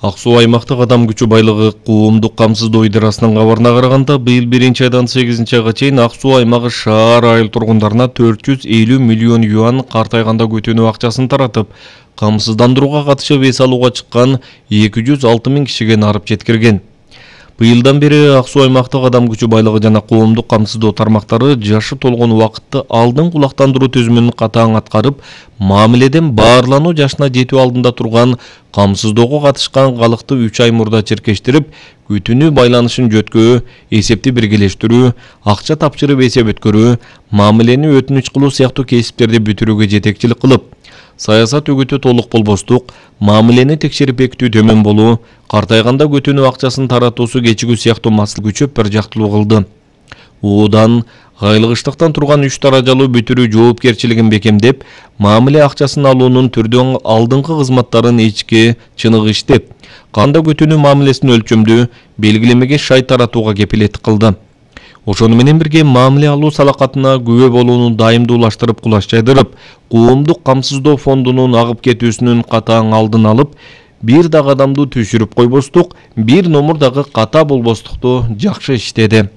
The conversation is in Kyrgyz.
Ак Суу аймактык адам күчү байлыгы коомдук камсыздоо идерасынын кабарына караганда, быйыл 1-айдан 8-айга чейин Ак Суу аймагы шаар айыл тургундарына 450 миллион юан картайганда көтөнүү акчасын таратып, камсыздандырууга катышып эс алууга чыккан 206 миң кишиге нарып жеткирген. Быйылдан бери Ак Суу аймактык адам күчү байлыгы жана коомдук камсыздоо тармактары жашы толгон убакытты алдын кулактандыруу түзүмүн катаң аткарып, мамиледен баарлануу жашына жетүү алдында турган камсыздоого катышкан калыкты 3 ай мурда черкештирип, күтүнүү байланышын жөткөө, эсепти биргелештирүү, акча тапшырып эсеп өткөрүү, мамилени өтүнүч кылуу сыяктуу кесиптерди бүтүрүүгө жетекчилик кылып, саясат үгүтү толук болбостук, мамилени текшерип бекитүү төмөн болуу, картайганда көтөнүү акчасын таратуусу кечигүү сыяктуу маселе күчөп бир жактылуу кылды. Оодан айлыгыштыктан турган 3 даражалуу бүтүрүү жоопкерчилигин бекемдеп, мамиле акчасын алуунун түрдөн алдыңкы кызматтарын ичке чыныгы иштеп, канда көтөнүү мамилесин өлчөмдүү, белгилемеге шай таратууга кепилеттик кылды. Ошону менен бирге мамиле алуу салакатына күбө болууну дайымдуулаштырып, кулаш жайдырып, коомдук камсыздоо фондунун агып кетүүсүнүн катаң алдын алып, бир дагы адамды түшүрүп койбостук, бир номур дагы ката болбостукту жакшы иштеди.